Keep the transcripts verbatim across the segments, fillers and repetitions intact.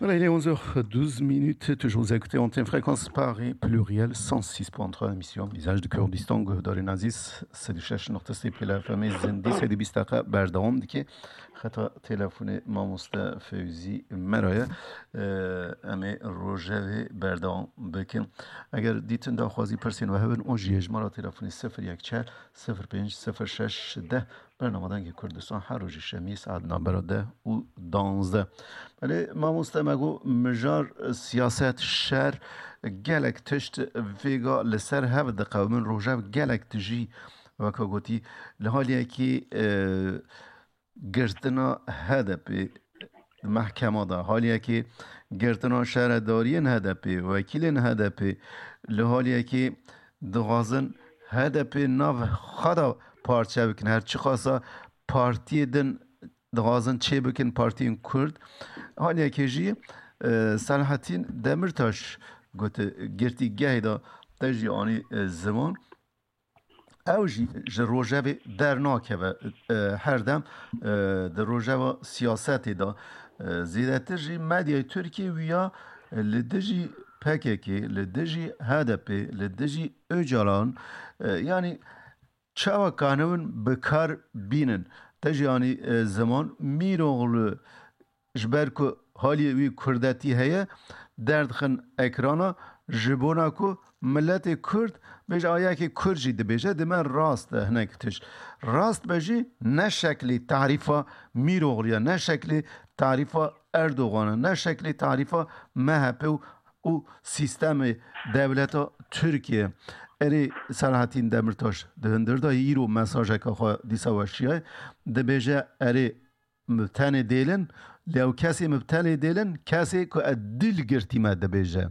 Voilà, il est onze heures douze minutes, toujours vous écoutez Antenne Fréquence Paris, pluriel cent six point trois, émission Visage du Kurdistan, guhdarên ezîz, sed û şeş nokta sê Pêla F M, Zindî, sed û bîst deqa berdewam dike. Xeta telefonê mamoste Fewzî Mera ye. Em ê rojevê berdewam bikin. Eger dîtin daxwazî pirsên we hebin, o jî hejmara telefonê sifir yek çar sifir pênc sifir şeş deh. Bernama Dengê Kurdistan her rojî şemî saet navbera deh û danzdeh. Belê mamoste me got mijar, siyaset, şer, gelek tişt vêga li ser hev diqewimin. Rojev gelek tijî, weka gotî, li haliyekî, e, girtina H D P di mehkema de, haliyekî girtina şaredariyên H D P, wekîlên H D P, li haliyekî dixwazin H D P nav xwe de parçe bikin. Her çiqasa partiyê din dixwazin çê bikin, partiyên Kurd. Haliyekê jî, e, Selahattin Demirtaş got, girtîgehê de te jî anî, e, ziman. Ew jî ji rojevê dernakeve, e, her dem, e, di rojeva siyasetê de, e, zêdetir jî medyayê Tirkiyê wîya, e, li dijî P K K, li dijî H D P, li dijî Ocalan, e, yanî çawa kanibin bi kar bînin. Te jî anî, e, ziman Mîroğlu ji ber ku haliyê wî kurdetî heye, derdixin ekrana ji bona ku miletê kurd bêje, a yekê kurd jî dibêje, dime rast e hinek tişt. Rast be jî ne şeklî tarîfa Mîroğlu ye, ne şeklî tarîfa Erdogan e, ne şeklî tarîfa M H P û, û sîstemê dewleta Tirkiye. Erê Selahattin Demirtaş di hundir de îro mesajeke xwe dîsa weşiyaye, dibêje erê Mibtenê dêlin, lê ew kesê mibtenê dêlin, kesê ku ez dil girtîme dibêje.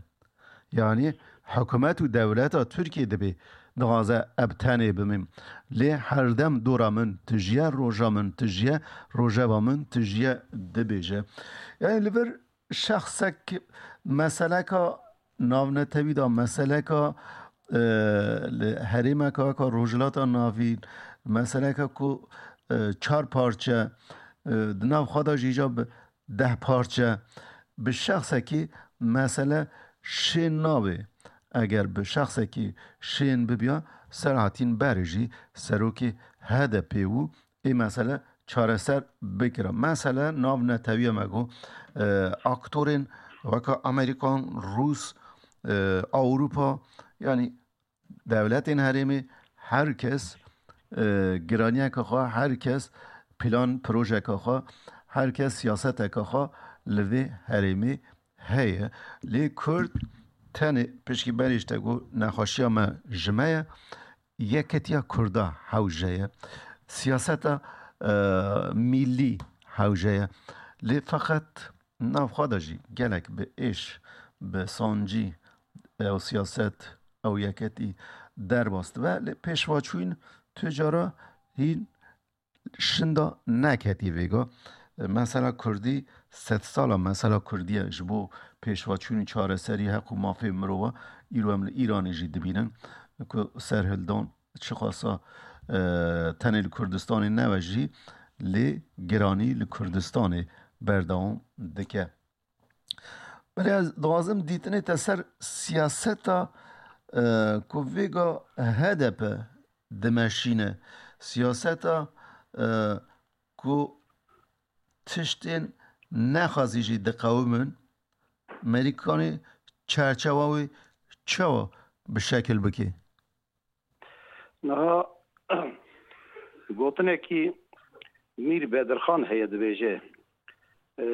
Yanî hikûmet û dewleta Tirkiyê dibê dixwaze ebtenê bimîm. Lê herdem dora min tijiye, roja min tijiye, rojeva min tijiye dibêje. Yanî li vir şexsek meseleka navnetewî de, meseleka, e, li herêmeka weka Rojhilata Navîn, meseleka ku, e, çar parçe, e, di nav xwe de jî îca bi deh parçe, bi şexsekî mesele şên nabe. Eger bi şexsekî şên bibiya, Selahattin berê jî serokê H D P bû, ê mesele çareser bikira. Mesele nav netewiye me got, e, aktorên weka Amerîkan, Rûs, e, Ewropa, yanî dewletên herêmê, her kes, e, giraniyeke xwe, her kes plan projeke xwe, her kes siyaseteke xwe li vê herêmê heye. Lê Kurd tenê pişkî berê ji te got nexweşiya me ji me ye. Yeketiya Kurda hewce ye. Siyaseta, e, mîllî hewce ye. Lê feqet nav xwe de jî gelek bi êş, bi sancî ew siyaset, ew yeketî derbas dibe. Lê pêşvaçûyîn tu cara hîn şinda neketî vêga. Mesela Kurdî sedsala mesela Kurdî ye. Ji bo pêşvaçûnî çareserî heq û mafê mirova îro em li Îranê jî dibînin ku serhildan çiqasa, e, tenê li Kurdistanê nebe jî lê giranî li Kurdistanê berdewam dike. Belê ez dixwazim dîtinê te ser siyaseta, e, ku vêga H D P dimeşîne. Siyaseta, e, ku tiştên nexwazî jî diqewimin, Merîkanê çerçewa wê çawa bi şekil bike? Niha gotinekî Mîr Bedirxan heye, dibêje, e,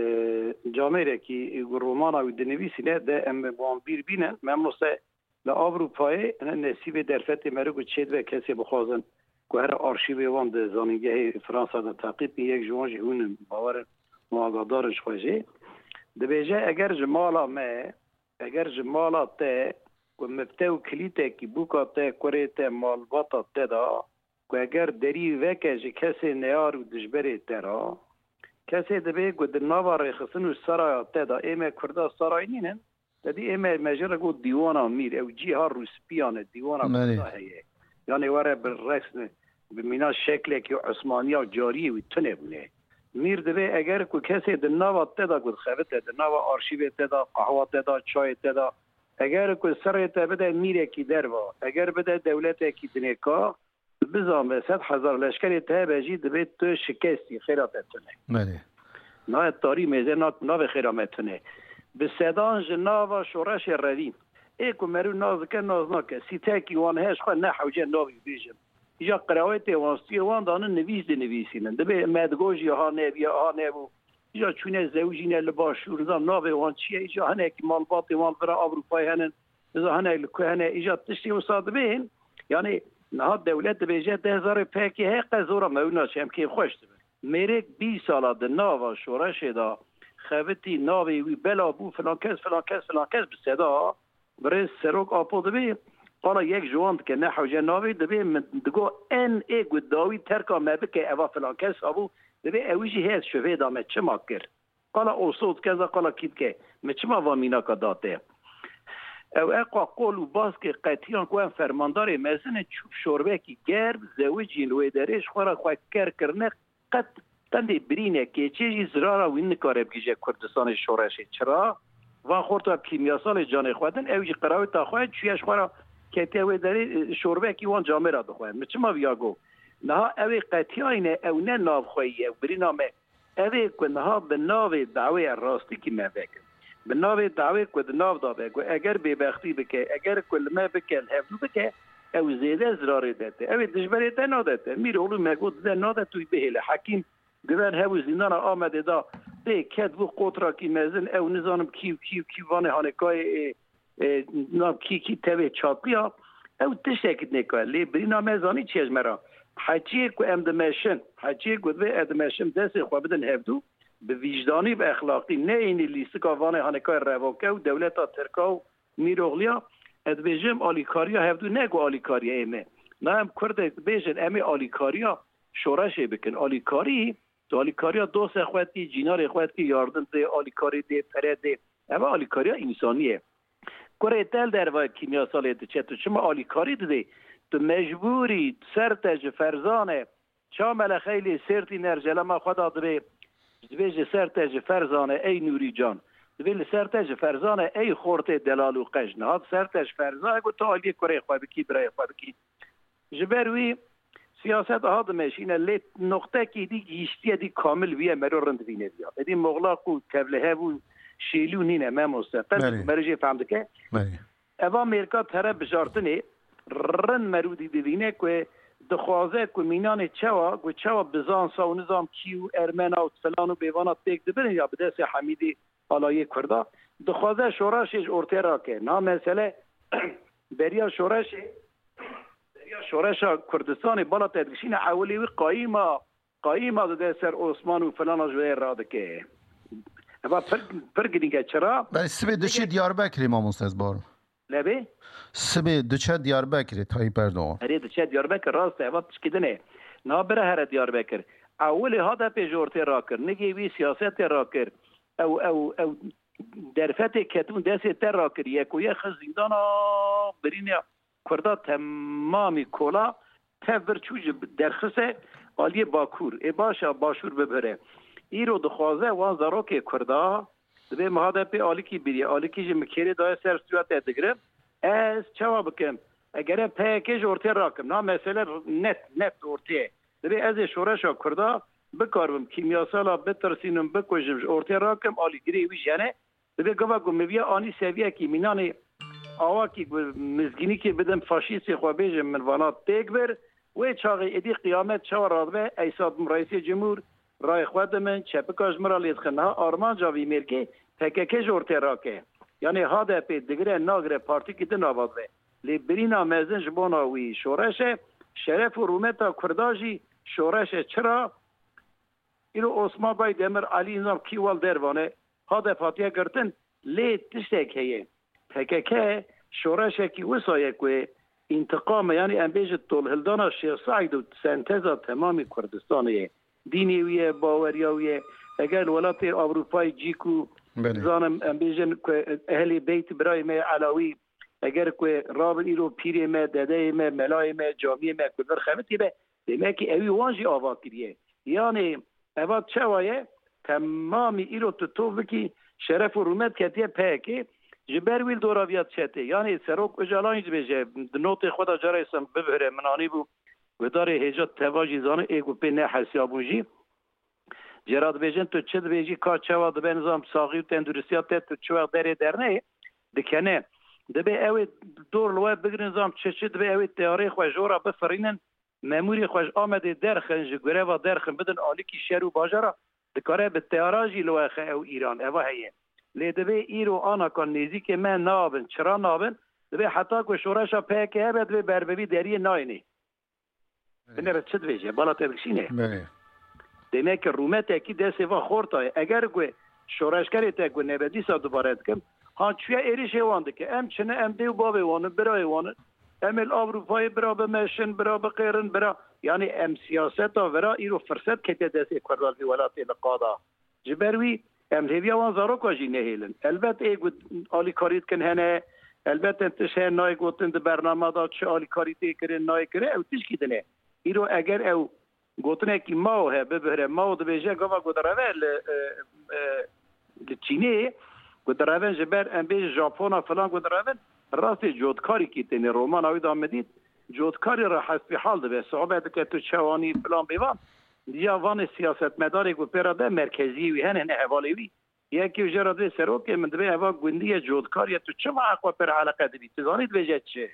camêrekî ku romana wî dinivîsîne de em bi wan bîr bînin, me mose li Ewropayê hene nesîbê derfetê meriv ku çêdibe kesê bixwazin ku here arşîvê wan di zanîngehê Fransa de teqîb bin, yek ji wan jî hûn in, bawer in, û agahdar in ji xwe jê. Dibêje, eger ji mala me, eger ji mala te ku mifte û kilîtekî bûka te, kurê te, malbata te da, ku eger derî veke ji kesê neyar û dijberê te ra, kesê dibê ku di nava rêxistin û seraya te da, ê me Kurda saray nînin, te dî ê me, me jê re got dîwana mîr, ew cîha rûspiyan e, dîwana Belê. Kurda heye. Yanê were bi resm, bi mîna şeklekî Osmaniya cariyê wî tune bûne. Mîr divê eger ku kesê di nava te de ku dixebite, di nava arşîvê te de, qehwa te de, çayê te de, eger ku serê te bide mîrekî derva, eger bide dewletekî dinê ka, bizan ve sed hezar leşkerê te hebe jî divê tu şikestî, xêra te tune. Belê. Nayê tarî mêze na-, navê xêra me tune. Bi sedan ji nava şoreşê revîn. Ê ku merû naz dike, naz nake. Sîtekî wan heye, ji xwe ne hewce navî bêjin. Îja qirewetê wan, stûyê wan danin, nivîs dinivîsînin. Dibê me digot jî ha nebûye, ha nebû. Îja çûne zewicîne li başûr, nizam navê wan çi ye, îja hinekî malbatê wan li vira Ewropayê henin, nizam hinek li ku hene, îja tiştê wisa dibên. Yanî niha dewlet dibêje deh zarê P K K heye, qe zora me wina çi em kêfxweş dibin. Mêrek bîst sala di nava şoreşê de xebitî, navê wî bela bû, filan kes, filan kes, filan kes bi seda. Birêz Serok Apo dibê, qala yek ji wan dike, ne hewce navê, dibê min digo en ê ku dawî terka me bike, eva filan kes habû, dibê ew jî heye, şivê da me çima kir. Qala oso dike, za qala kî dike, min çima va mînaka da te? Ew eqa qol û baskê qetiyan ku em fermandarê mezin in, çû şorbekî germ, zewicîn li wê derê, ji xwe re xwe ker kirine, qet qendê birîne keçê jî zirara wî nikare bigihîje Kurdistanê şoreşê. Çira? Van xorta kîmyasalê canê xwe din, ew jî qireweta xwe çûye ji xwe re ketiye wê derê, e, şorbekî wan camêra dixwe. Min çima viya got? Niha ew ê qetiyayne, ew ne navxweyî ye, ew birîna me. Ev ê ku niha bi navê dawê, rastîkî me vekin. Bi navê dawê ku di nav da be, ku eger bêbextî bike, eger ku li me bike, li hevdû bike, ew zêde zirarê de te. Ew ê dijberê te nade te. Mîroğlu me got dide nade tu bihêle. Hekîm Güven hebû zîndana Amedê da, pê ket bû qotrakî mezin, ew nizanim kî û kî û kî vanê hanekayê, e, e, nav kî kî tevê çatliya, ew tiştekî nêka. Lê birîna me zanî çi ye ji me re? Heçiyê ku em dimeşin, heçiyê ku divê em dimeşin, destê xwe bidin hevdû, bi vîjdanî, bi exlaqî, neyênî lîstika vanê hanekayê revoke û dewleta Tirka û Mîroxliya, ez dibêjim alîkariya hevdû ne ku alîkariya ê me. Na em Kurdê dibêjin em ê alîkariya şoreşê bikin. Alîkarî, tu alîkariya dostê xwe dikî, cînarê xwe dikî, yardim dê, alîkarî dê, pere dê. Ev alîkariya însanî ye. Kurê te li derve kîmyasalê diçe, tu çima alîkarî didê? Tu mecbûrî ser te ji ferzan e. Ça mele xeylê sêrtî nercelema xwe da dibê, dibê ji ser te ji ferzan e ey Nûrî can. Dibê li ser te ji ferzan e ey xortê delal û qej. Niha di ser te ji ferzan e ku tu aliyê kurê xwe bikî, birayê xwe bikî. Ji ber wî siyaset aha dimeşîne, lê noqtekî dî gihîştiye dî kamil bûye, mero rind vîne diya. Êdî moxlaq û tevlihev û şêlû nîne, memoste. Qet Belê. Mero jê fehm dike. Belê. Eva mêrka tere bijartinê rind merûdî divîne ku dixwaze ku mînanê çewa, ku çewa bizansa û nizam kî û ermena û filan û bêvana têk dibirin ya bi destê Hemîdî alayê Kurda, dixwaze şoreşê ji ortê rake. Niha mesele beriya şoreşê, beriya şoreşa Kurdistanê bala te dikişîne ewilê wî qayîma, qayîma dide ser Osman û filana ji wê radike. Eva pir, pir girîng e. Çira? Belê, sibê diçe Diyarbekirê, mamoste, ez bawer. Lebê? Sibê diçe Diyarbekirê, Tayyip Erdoğan. Erê, diçe Diyarbekir, rast e, eva tişkî din e. Na bira here Diyarbekir. Ewilê H D P ji ortê rakir. Nigê wî siyasetê rakir. Ew, ew, ew derfetê ketibûn destê te rakir. Yeko ye xist zîndana, birîne Kurda temamî kola, tev vir çû ji derxise aliyê Bakur. Ê baş e, Başûr bibire. Îro dixwaze wan zarokê Kurda, dibê mi H D P alîkî biriye, alîkî ji mi kêrê daye ser stûya te digirim. Ez çawa bikim? Egere P Y K ji ortê rakim. Na mesele net, net ortê ye. Dibê ez ê şoreşa Kurda bikaribim kîmyasala bitirsînim, bikujim, ji ortê rakim, alîgirê wî jene. Dibê gava ku min viya anî seviyekî mînanê awakî ku mizgînîkê bidim faşîstê xwe bêjim, min vana têk bir, wê çaxê êdî qiyamet çawa radibe, eysa dim reîsê cumhur rayê xwe dimin, çepika ji min re lê dixin. Niha armanca vî mêrkê P K K ji ortê rake. Yanê H D P digire nagire partîkî din ava dibe. Lê birîna mezin ji bona wî şoreş e, şeref û rûmeta Kurda jî şoreş e. Çira? Îro Osman Baydemir, Elî nizam kî wal dervane, H D P hatiye girtin, lê tiştek heye. P K K şoreşekî wisa ye ku întiqam e, yanî em bêjin tolhildana Şêx Seîd û senteza temamî Kurdistanê ye. Dînê wî ye, baweriya wî ye. Eger li welatê Ewropayê cî ku Belê. Zanim em bêjin ku Ehlê Beyt birayê me ye Elawî, eger ku rabin îro pîrê me, dedeyê me, melayê me, camiyê me ku li vir xebitî be, demekî ewî wan jî ava kiriye. Yanê Eva çawa ye? Temamî îro tu tov bikî, şeref û rûmet ketiye P K K. Ji ber wî li dora viya çetê. Yanî Serok Ocalan jî dibêje, di notê xwe de cara îsan bibihire, min anîbû guhdarê hêja teva jî zane, ê ku pê nehesiyabûn jî. Jê re dibêjin, tu çi dibêjî, ka çawa dibe, nizam saxî û tenduristiya te, tu çi wext derê derneyê, dikene. Dibê ew ê dor li we bigrin, nizam çi çi, dibê ew ê teyarê xwe ji we re bifirînin, memûrê xwe ji Amedê derxin, ji greva derxin, bidin alîkî şer û bajara, dikare bi teyara jî li we xe ew Îran, eva heye. Lê dibê îro anaka nêzîkê me nabin, çira nabin, dibê heta ku şoreşa P K K hebe, dibê berbevî deriyê nayênê. Binêre çi dibêje? Bala te bikişîne. Belê. Demek ki rûmetekî destê va xorta ye. Eger ku şoreşgerê te ku nebe dîsa dubare dikim, ha çûye êrişê wan dike. Em çi ne, em dê û bavê wan in, birayê wan in. Em ê li Ewropayê bira bimeşin, bira biqêrin, bira. Yanî em siyaseta vira îro firset ketiye destê Kurdan vî welatê li qada. Ji ber wî em hêviya wan zaroka jî nehêlin. Elbet ê ku alîkarî dikin hene, elbet em tişt hene nayê gotin di bername de çi alîkarî tê kirin, nayê kirin, ew tişkî din e. Îro eger ew gotinekî mao he, bibihre, mao dibêje gava ku direve li, e, e, li Çînê, ku direvin ji ber em bêjin Japona filan ku direvin, rastê cotkarîkî tênê romana wî de min dît, cotkarî re hesbîhal dibe, sohbet dike tu çewanî filan bêvan. Ya vanê siyasetmedarê ku pê re de merkeziyê wî hene, ne hevalê wî. Yekê ji re dibê serokê min dibê eva gundî ye, cotkar ye, tu çima eqwe pir eleqe dibî? Tu zanî dibêje çi?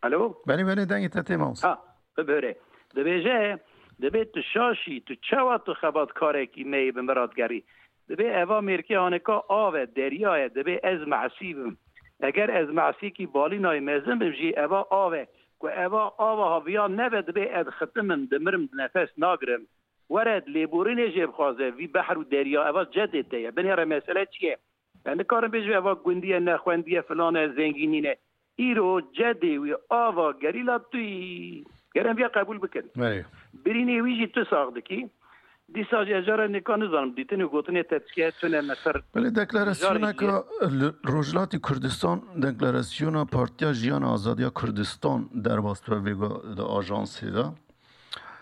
Alo? Belê, belê, dengê te tê, mamoste. Ha, bibêre. Dibêje, dibê tu şaşî, tu çawa tu xebatkarekî me yê bi min re digerî? Dibê eva mêrkê haneka av e, derya ye, dibê ez mesî bim. Eger ez mesîkî balînayê mezin bim jî, eva av e. Ku eva ava haviya nebe, dibê ez xitim im, dimirim, nefes nagirim. Were lêborînê jê bixwaze, vî behr û derya, eva cedê te ye. Binêre mesele çi ye? Em nikarin bêjin eva gundî ye, nexwendî ye, filan e, zengînî ne. Îro cedê wî ava gerîla tu yî. Ger em viya qebûl bikin. Belê. Birînê wî jî tu sax dikî. Dîsa jî ez cara nêka nizanim, dîtin û gotinê te çi ye, tune me ser. Belê, deklarasyoneke li Rojhilatê Kurdistan, deklarasyona Partiya Jiyan Azadiya Kurdistan derbas dibe vêga di ajansê de.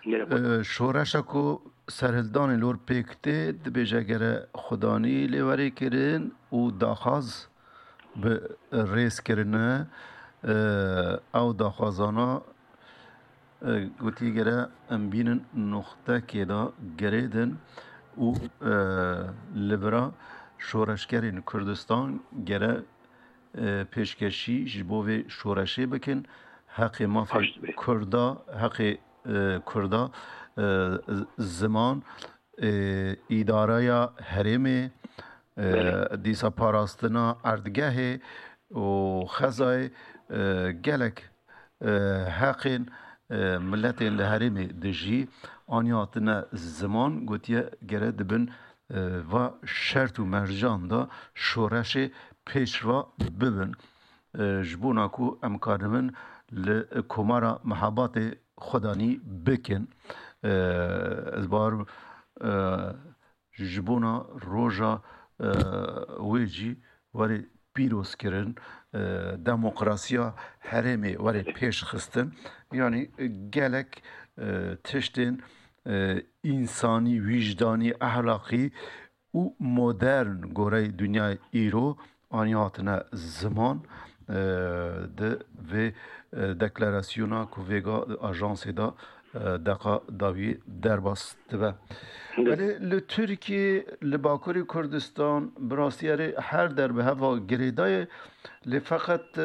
Ee, şoreşa ku serhildanê lor pêk tê, dibêje gere xudanî lê were kirin û daxwaz bi rêz kirine. Ee, ew daxwazana, e, gotî gere em bînin noxtekê de girêdin û, e, li vira şoreşgerên Kurdistan gere e, pêşkêşî ji bo vê şoreşê bikin. Heqê mafê Kurda, heqê, e, Kurda, e, z-, ziman, e, îdareya herêmê, e, Belê. dîsa parastina erdgehê û xezayê, e, gelek, e, heqên, e, miletên li herêmê dijî aniya hatine ziman, gotiye gere dibin e, va şert û mercan de şoreşê pêşva bibin. E, ji bona ku em karibin li Komara Mehabatê xwedanî bikin. E, ez bawer, e, ji bona roja, e, wê jî were pîrozkirin, e, demokrasiya herêmê were pêşxistin. Yanî gelek, e, tiştên, e, însanî, wîjdanî, ehlaqî û modern goreyê dinyayê îro aniya hatine ziman, e, di vê, e, deklarasyona ku vêga ajansê de, e, deqa dawî derbas dibe. Belê li Tirkiyê, li Bakurê Kurdistan, bi rastî erê her der bi heva girêdayê, lê feqet